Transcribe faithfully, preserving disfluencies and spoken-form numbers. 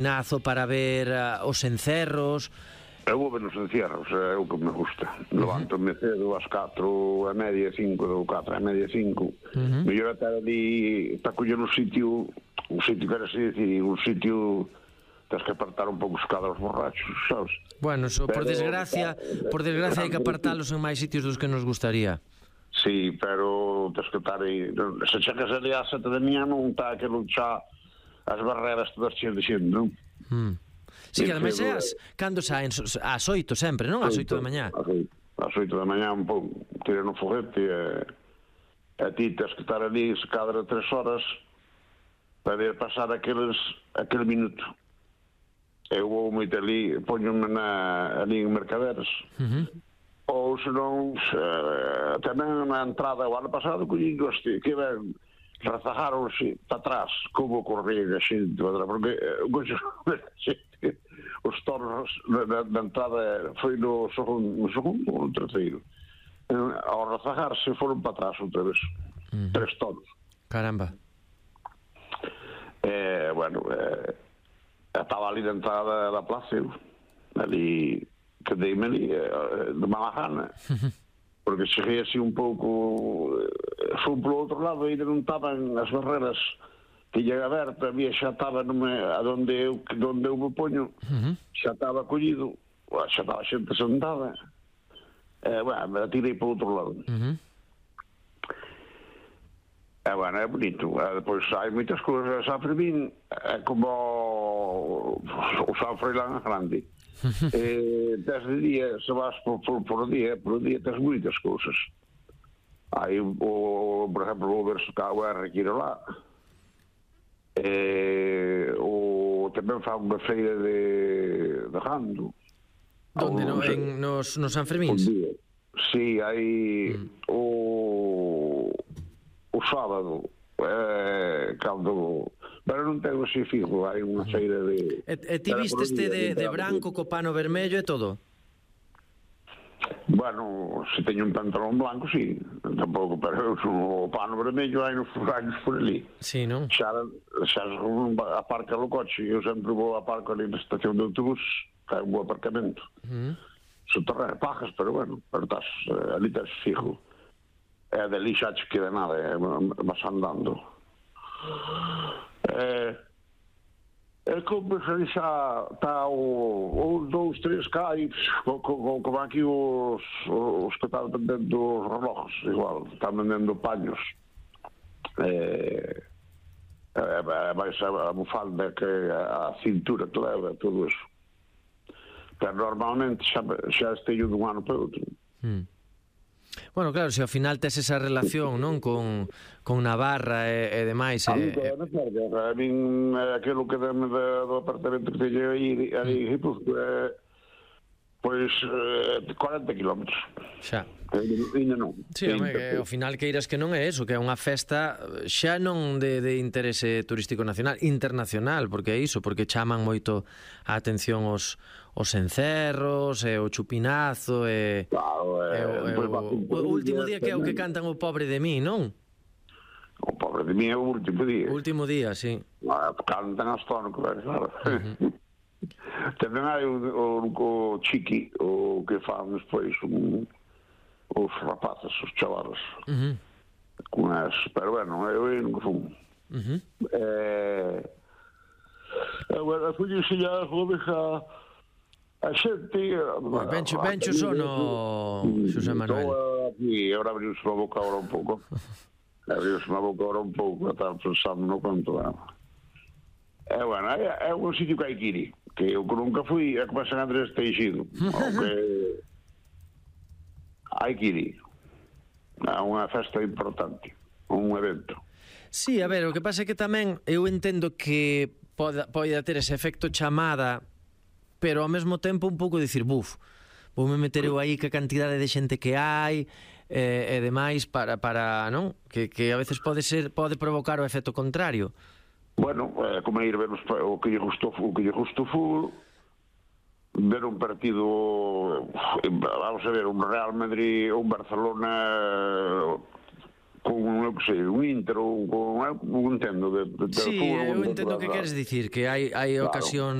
Nazo para ver uh, os encerros. Eu vou ver os encierros, é o que me gusta. Levanto-me cedo ás catro e media, cinco, ou catro e media, cinco. Uh-huh. Mellor estar ali para coller un sitio, un sitio, quero así decir, un sitio, tens que apartar un pouco os cadros borrachos, sabes? Bueno, so, por desgracia, por desgracia hai que apartalos en máis sitios dos que nos gustaría. Sí, pero tens que estar aí, se checas ali ás sete de miña non está aquilo xa as barreras todas cheas de xente, non? Mm. Sí, que ademais é as, cando saen ás oito sempre, non? Ás oito da mañá. Ás oito da mañá un pouco, tiran o foguete e, e ti tens que estar ali se cadra tres horas para ir pasar aqueles, aquele minuto. Eu vou moito ali, poño-me na, ali en Mercaderes, uh-huh. ou senón uh, tamén na entrada o ano pasado collí goste, que ben razajaronse para atrás como corría a xente, porque uh, os tornos da, da entrada foi no segundo, no segundo ou no terceiro, uh, ao razajarse foron para atrás outra vez, uh-huh. tres tornos. Caramba. Eh, bueno, eh, estaba ali na entrada da plaza, eu, ali, quedei-me ali, eh, de mala gana. Porque cheguei así un pouco, foi polo outro lado, ainda non estaban as barreras que lle aberta, había xa estaba nome, a donde eu, donde eu me poño, uh-huh. xa estaba collido, xa estaba xente sentada, e, bueno, me tirei para outro lado. Uh-huh. E, bueno, é bonito, e, depois hai moitas cousas, San Fermín é como o San Froilán grande. eh, tens de día, se vas por, por, por día, por día tens moitas cousas. Hai, o, por exemplo, o verso K U R que ir lá, eh, o tamén fa unha feira de, de gando. Donde, no, en, nos, nos San Fermíns? Si, hai mm. o, o sábado, eh, cando... pero non tengo así fijo, hai unha feira de... E, e ti viste este de, de branco co pano vermello e todo? Bueno, se teño un pantalón blanco, sí, tampouco, pero o pano vermello hai nos furallos por ali. Sí, non? Xa, xa aparca o coche, eu sempre vou aparco ali na estación de autobús, que é un bo aparcamento. Uh-huh. Soterreo, pajas, pero bueno, pero estás, ali estás fijo. E dali xa te queda nada, é, vas andando. É, é como se xa está o dous, três cais como aquí os os que están vendendo os relojos, igual, están vendendo paños, é, é, máis a bufanda que a cintura, toda, todo eso, pero normalmente xa, xa esteio dun ano para outro. Hmm. Bueno, claro, se ao final tes esa relación, non, con, con Navarra e, e demais. A mí, e... a min, aquilo que dame do apartamento que teño aí, aí, pois, eh, pois, eh, cuarenta kilómetros. Xa. Ainda non. Sí, home, que ao final que irás que non é eso, que é unha festa xa non de, de interese turístico nacional, internacional, porque é iso, porque chaman moito a atención os os encerros, e o chupinazo, e, claro, e, e, e o, o último día que é o que cantan o Pobre de mí, non? O Pobre de mí é o último día. O último día, sí. Ah, cantan as tono, claro. Uh-huh. Tamén hai o, o, o Chiqui, o que fan despois un, os rapazes, os chavalos. Uh-huh. Con as, pero bueno, eu non fumo. Uh-huh. Eh, agora, fui enseñar a joveja a xente... Bencho, bencho sono, Xosé Manuel. Aquí, agora abriuse a boca agora un pouco. Abriuse a boca agora un pouco, estaba pensando no quanto é. É, bueno, é, é un sitio que hai que ir, que eu nunca fui, é como San Andrés Teixido, aunque hai que ir. É unha festa importante, un evento. Sí, a ver, o que pasa é que tamén eu entendo que poda, poida ter ese efecto chamada, pero ao mesmo tempo un pouco dicir, buf, voume meter eu aí que a cantidade de xente que hai e, e demais para, para non? Que, que a veces pode ser pode provocar o efecto contrario. Bueno, é como ir ver os, o que lle gustou o que lle gustou fútbol, ver un partido, vamos a ver, un Real Madrid ou un Barcelona, con, eu que sei, un intro, con, eu entendo de, de, de Sí, fútbol, eu de- entendo o de- que de- queres dicir, que hai, hai Claro. ocasións